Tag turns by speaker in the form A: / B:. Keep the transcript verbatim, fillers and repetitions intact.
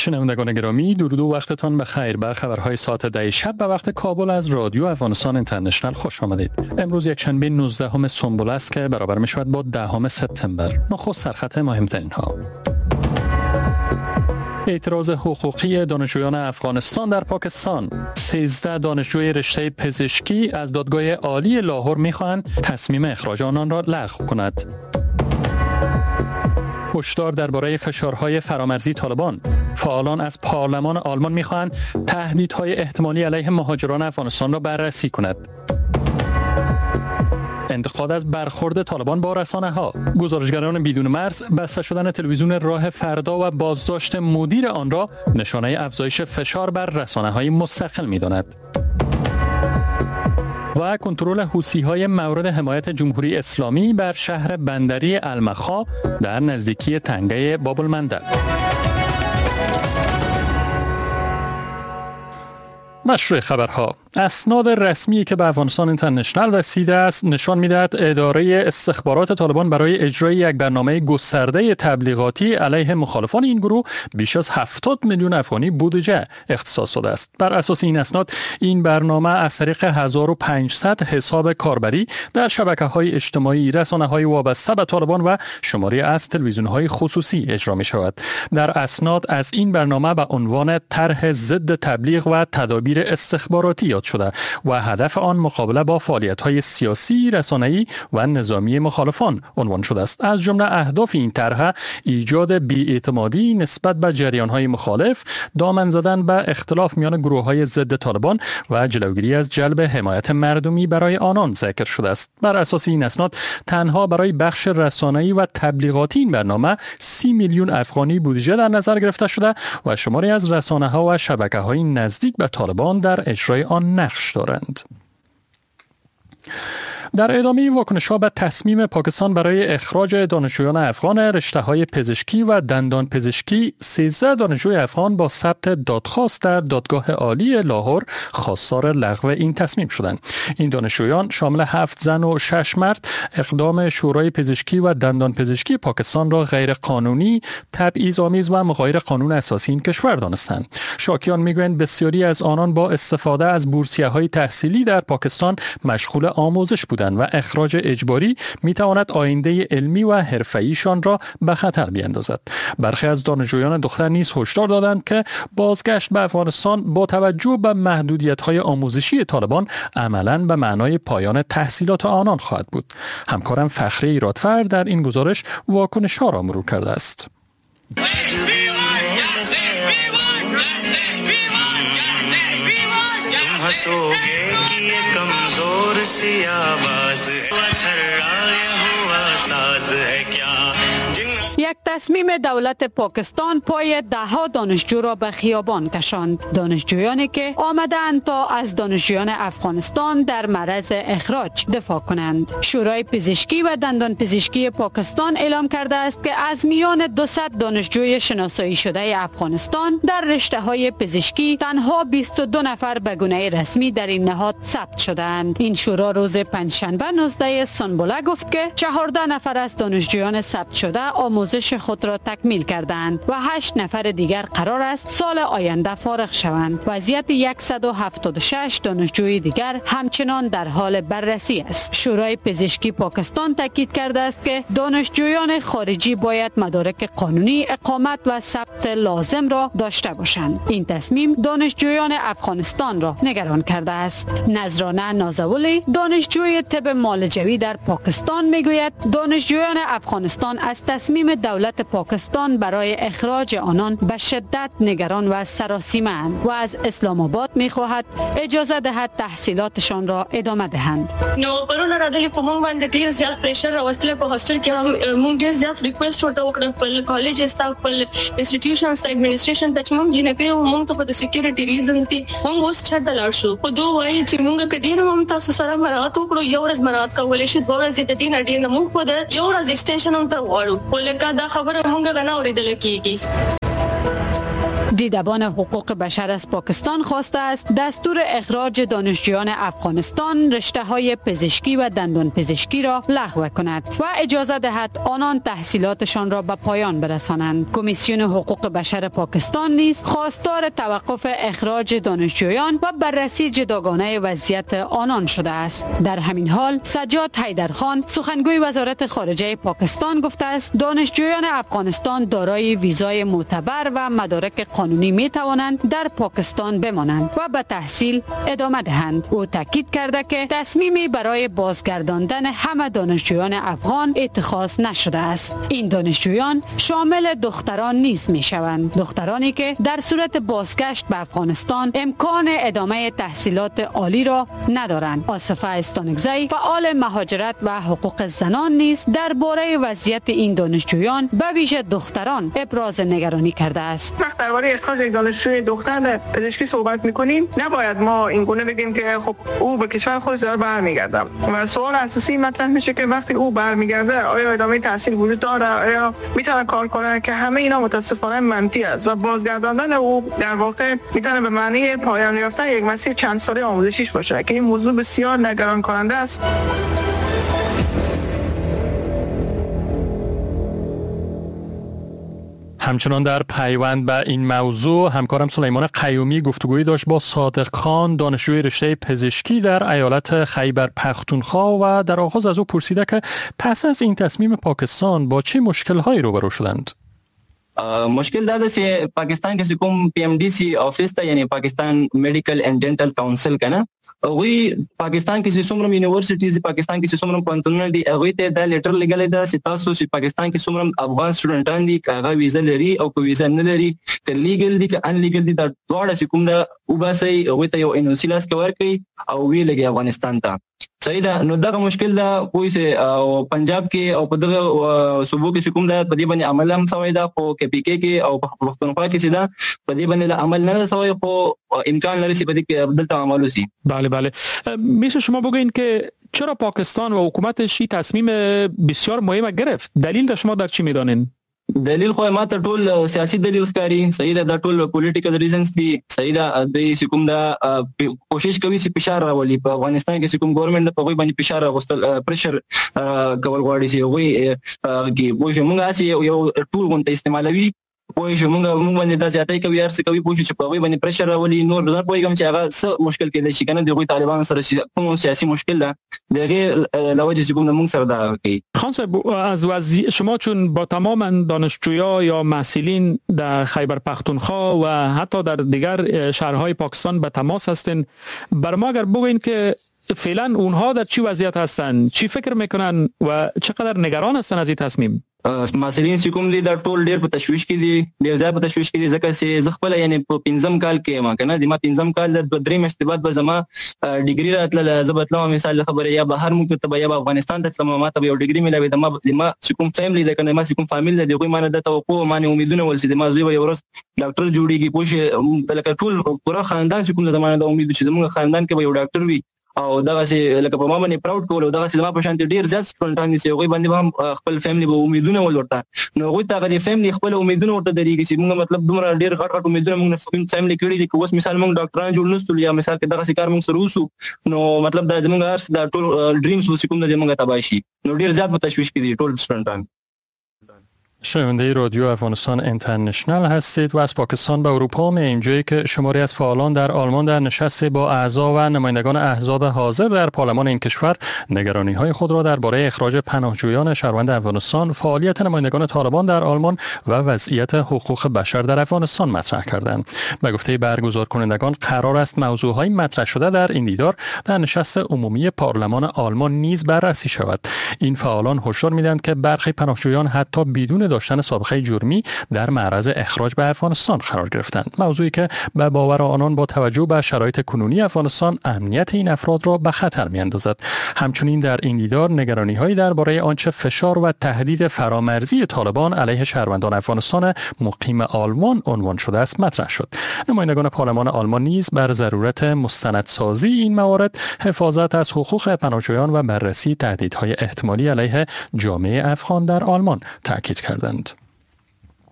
A: شنوندگان گرامی، درود و وقتتان بخیر. به خبرهای ساعت ده شب به وقت کابل از رادیو افغانستان اینترنشنال خوش آمدید. امروز یک شنبه نوزدهم سنبله است که برابر می شود با دهم سپتامبر. نخست سرخط مهمترین ها: اعتراض حقوقی دانشجویان افغانستان در پاکستان. سیزده دانشجوی رشته پزشکی از دادگاه عالی لاهور می‌خواهند تصمیم اخراج آنان را لغو کند. هشدار درباره فشارهای فرامرزی طالبان. فعالان از پارلمان آلمان می‌خواهند تهدیدهای احتمالی علیه مهاجران افغانستان را بررسی کند. انتقاد از برخورد طالبان با رسانه‌ها. گزارشگران بدون مرز بسته شدن تلویزیون راه فردا و بازداشت مدیر آن را نشانه افزایش فشار بر رسانه‌های مستقل می‌داند. و کنترل حوثی‌های مورد حمایت جمهوری اسلامی بر شهر بندری المخا در نزدیکی تنگه باب المندب. مشروع خبرها: اسناد رسمی که به افغانستان اینترنشنال رسیده است نشان می‌دهد اداره استخبارات طالبان برای اجرای یک برنامه گسترده تبلیغاتی علیه مخالفان این گروه بیش از هفتاد میلیون افغانی بودجه اختصاص داده است. بر اساس این اسناد، این برنامه از طریق هزار و پانصد حساب کاربری در شبکه‌های اجتماعی، رسانه‌های وابسته به طالبان و شماری از تلویزیون‌های خصوصی اجرا می‌شود. در اسناد از این برنامه به عنوان طرح ضد تبلیغ و تدابیر استخباراتی یاد شده و هدف آن مقابله با فعالیت‌های سیاسی، رسانه‌ای و نظامی مخالفان عنوان شده است. از جمله اهداف این طرح ایجاد بی‌اعتمادی نسبت به جریان‌های مخالف، دامن زدن به اختلاف میان گروه‌های ضد طالبان و جلوگیری از جلب حمایت مردمی برای آنان ذکر شده است. بر اساس این اسناد، تنها برای بخش رسانه‌ای و تبلیغاتی این برنامه سی میلیون افغانی بودجه در نظر گرفته شده و شماری از رسانه‌ها و شبکه‌های نزدیک به طالبان در اجرای آن نقش دارند. در ادامه واکنش‌ها به تصمیم پاکستان برای اخراج دانشجویان افغان رشته‌های پزشکی و دندان پزشکی، سیزده دانشجوی افغان با ثبت دادخواست در دادگاه عالی لاهور خواستار لغو این تصمیم شدند. این دانشجویان شامل هفت زن و شش مرد اقدام شورای پزشکی و دندان پزشکی پاکستان را غیر قانونی، تبعیض‌آمیز و مغایر قانون اساسی این کشور دانستند. شاکیان می‌گویند بسیاری از آنان با استفاده از بورسیه‌های تحصیلی در پاکستان مشغول آموزش بودند و اخراج اجباری میتواند آینده علمی و حرفه‌ایشان را به خطر بیاندازد. برخی از دانشجویان دختر نیز هشدار دادند که بازگشت به افغانستان با توجه به محدودیت‌های آموزشی طالبان عملاً به معنای پایان تحصیلات آنان خواهد بود. همکارم فخری رادفر در این گزارش واکنش‌ها را مرور کرده است.
B: یک تصمیم دولت پاکستان پای دهها دانشجو را به خیابان کشاند. دانشجویانی که آمدند تا از دانشجویان افغانستان در معرض اخراج دفاع کنند. شورای پزشکی و دندان پزشکی پاکستان اعلام کرده است که از میان دویست دانشجوی شناسایی شده افغانستان در رشته های پزشکی تنها بیست و دو نفر به گونه رسمی در این نهاد ثبت شدند. این شورا روز پنجشنبه نوزده سنبله گفت که چهارده نفر از دانشجویان ثبت شده آموزش خود را تکمیل کردند و هشت نفر دیگر قرار است سال آینده فارغ شوند. وضعیت صد و هفتاد و شش دانشجوی دیگر همچنان در حال بررسی است. شورای پزشکی پاکستان تاکید کرده است که دانشجویان خارجی باید مدارک قانونی اقامت و ثبت لازم را داشته باشند. این تصمیم دانشجویان افغانستان را نگران کرده است. نذرانه نازولی، دانشجوی طب معالجوی در پاکستان، میگوید دانشجویان افغانستان از تصمیم دولت پاکستان برای اخراج آنان به شدت نگران و سراسیمه اند و از اسلام آباد میخواهد اجازه دهد تحصیلاتشان را ادامه دهند.
C: نو پرون راغلی په مونږ باندې ډیر زیات پریشر راوستل په هاسټل کې هم مونږ ډیر زیات ریکوست ورته وکړ خپل کالج ته، خپل انسټیټیوشنز ته، ادمنستریشن ته چې مونږ جینکۍ یو، مونږ ته خو د سکیورټي ریزنز دي، مونږ اوس چېرته لاړ شو؟ خو دوی وایي چې مونږ که ډېر هم تاسو سره مراعات وکړو، یو ورځ مراعات کولی شي، دوه ورځې د دې نه ډېر نه، مونږ خو د یو ورځ ایکسټینشن هم تر غواړو، خو لکه دا خبره مونږ نه اورېدل کېږي.
B: دیدبان حقوق بشر از پاکستان خواسته است دستور اخراج دانشجویان افغانستان رشته های پزشکی و دندان پزشکی را لغو کند و اجازه دهد آنان تحصیلاتشان را به پایان برسانند. کمیسیون حقوق بشر پاکستان نیز خواستار توقف اخراج دانشجویان و بررسی جداگانه وضعیت آنان شده است. در همین حال سجاد حیدرخان سخنگوی وزارت خارجه پاکستان گفته است دانشجویان افغانستان دارای ویزای معتبر و مدارک قانونی می توانند در پاکستان بمانند و به تحصیل ادامه دهند. او تاکید کرده که تصمیمی برای بازگرداندن همه دانشجویان افغان اتخاذ نشده است. این دانشجویان شامل دختران نیز می شوند، دخترانی که در صورت بازگشت به افغانستان امکان ادامه تحصیلات عالی را ندارند. آصفه استانکزی فعال مهاجرت و حقوق زنان نیز درباره وضعیت این دانشجویان به ویژه دختران ابراز نگرانی کرده است.
D: وقت درباره اخراج یک دانشجوی دختر پزشکی صحبت می‌کنیم، نباید ما این گونه بگیم که خب او به کشور خودش داره برمیگرده و سوال اساسی مطرح میشه که وقتی او برمیگرده آیا ادامه تحصیل وجود داره، آیا میتونه کار کنه، که همه اینا متاسفانه منفی است و بازگرداندن او در واقع میتونه به معنی پایان یافتن یک مسیر چند ساله آموزشیش باشه که این موضوع بسیار نگران کننده است.
A: همچنان در پیوند به این موضوع همکارم سلیمان قیومی گفتگویی داشت با صادق خان، دانشجوی رشته پزشکی در ایالت خیبر پختونخوا و در آغاز از او پرسیده که پس از این تصمیم پاکستان با چه مشکل‌هایی روبرو شدند؟
E: مشکل دا ده چې پاکستان کې کوم پی ام ډي سي آفیس ته، یعنی پاکستان میډیکل اینډ ډینټل کونسل کنه، هغوی پاکستان کې چې څومره یونیورسيټیز، پاکستان کې چې څومره پوهنتونونه دي، هغوی ته دا لیټر لګلی ده چې تاسو چې پاکستان کې څومره افغان سټوډنټان دي، که هغه ویزه لري او که ویزه نه لري، که لیګل دي که ان لیګل دي، دا دواړه چې کوم ده وباسئ، هغوی ته یو ان او سي لاس کې ورکړئ او ویې لګئ افغانستان ته. صحیح ده. نو دغه مشکل ده پوه سه او پنجاب کې او په دغه صوبو کې چې کوم ده په دې باندې عمل هم سوی ده، خو کې پی کې کې او په پښتونخوا کې چې ده په دې باندې لا عمل نه ده سوی، خو امکان لري چې په دې کې دلته عمل وشي.
F: بله بله. میشه شما بگوین که چرا پاکستان و حکومتش این تصمیم بسیار مهم گرفت؟ دلیل شما در چی میدانین؟
E: دلیل خو ما ته ټول سیاسي دلیل ښکاري. صحیح ده، دا ټول پولیټیکل ریزنز دي. صحیح ده، دوی چې کوم ده کوشش کوي چې فشار راولي په افغانستان کې، چې کوم ګورنمنت په هغوی باندې فشار راوستل، پریشر کول غواړي چې هغوی کې پوه شو موږ هسې یو ټول غونته استعمالوي، پوه شو موږ موږ باندې دا زیاتی کوي، هر څه کوي، پوه شو چې په هغوی باندې پریشر راولي. نور زه پوهېږم چې هغه څه مشکل کېدای شي که نه، د هغوی طالبانو سره چې کوم سیاسي مشکل ده د هغې له وجې چې کوم ده موږ سره دا کوي.
F: خان صاحب، از وضع شما چون با تمام دانشجویا یا محصلین در خیبر پختونخوا و حتی در دیگر شهرهای پاکستان به تماس هستین، بر ما اگر بگوین که فعلا اونها در چی وضعیت هستن، چی فکر میکنن و چقدر نگران هستن از این تصمیم؟
E: محصلین چې کوم دي دا ټول ډیر په تشویش کې دي، ډیر زیات په تشویش کې دي، ځکه چې زه خپله یعنې په پنځم کال کې یم که نه، د ما پنځم کال د دوه درې میاشتې بعد به زما ډیګري راتلله، زه به تلم مثال له خبرې یا بهر ملک ته به یا به افغانستان ته تلم، ما ته به یو ډیګري میلاوېده. ما ما چې کوم فیملی ده که نه، ما چې کوم فامیل ده، د هغوی ما نه دا توقع ما نه امیدونه ول چې د ما زوی به یو ورځ ډاکټر جوړېږي، پوه شې، لکه ټول پوره خاندان چې کوم ده زما نه دا امید چې زموږ خاندان کې به یو ډاکټر وي، او دغسې لکه په ما باندې پراود کول، او دغسې زما په شان ډېر زیات سټوډنټان دي چې هغوی باندې به هم خپل فیملی به امیدونه ول ورته، نو هغوی ته هغه د فیملی خپل امیدونه ورته درېږي چې موږ مطلب دومره ډېر غټ غټ امیدونه موږ فیملی کړي دي، که اوس مثال موږ ډاکټران جوړ نه سول یا مثال که دغسې کار موږ سره وسو، نو مطلب دا زموږ هر څه دا ټول ډریمز اوس کوم ده موږ تباه شي. نو ډېر زیات په تشویش کې دي ټول سټوډنټان.
A: شنونده رادیو افغانستان اینترنشنال هستید و از پاکستان به اروپا میاییم، جایی که شماری از فعالان در آلمان در نشست با اعضا و نمایندگان احزاب حاضر در پارلمان این کشور نگرانی‌های خود را درباره اخراج پناهجویان شهروند افغانستان، فعالیت نمایندگان طالبان در آلمان و وضعیت حقوق بشر در افغانستان مطرح کردند. به گفته برگزار کنندگان قرار است موضوعهای مطرح شده در این دیدار در نشست عمومی پارلمان آلمان نیز بررسی شود. این فعالان هشدار می‌دهند که برخی پناهجویان حتی بدون داشتن سابقه جرمی در معرض اخراج به افغانستان قرار گرفتند، موضوعی که به باور آنان با توجه به شرایط کنونی افغانستان امنیت این افراد را به خطر می‌اندازد. همچنین در این دیدار نگرانی‌هایی درباره آنچه فشار و تهدید فرامرزی طالبان علیه شهروندان افغانستان مقیم آلمان عنوان شده است مطرح شد. نمایندگان پارلمان آلمان نیز بر ضرورت مستندسازی این موارد، حفاظت از حقوق پناهجویان و بررسی تهدیدهای احتمالی علیه جامعه افغان در آلمان تاکید کردند.